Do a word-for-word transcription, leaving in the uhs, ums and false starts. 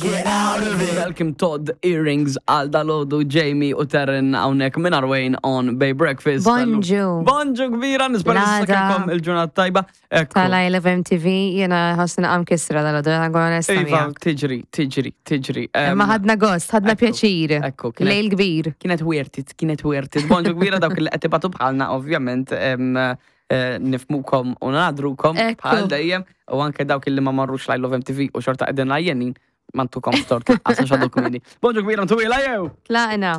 Get out of it. Malcolm Todd Earrings għal dalgħodu Jamie u Terren hawnhekk minn Arwayne on Bay Breakfast. Bonġu. Bonġu kbira, nispera L-għada. s-sakelkom il-ġurnata tajba. Ekku. Tal-I Love M T V, jena ħossni għam kisra dalgħodu, jena nkun onesta Iva, miegħek. Tiġri, tiġri, tiġri. Em, Imma ħadna gost, ħadna ekku, pjaċir. Ekku, kienet- Lejl kbir. Kienet worth it, kienet worth it. Bonġu kbira dawk li qed tibatu bħalna, ovvjament, em, eh, nifhmukom u nagħdrukom Ekku. bħal dejjem u anke dawk li ma marrux l-I Love M T V u xorta qegħdin għajjenin, m'għandkomx tort, għax għadu kmieni. Bonġu kbira, ntuwila jew! Tlaqna.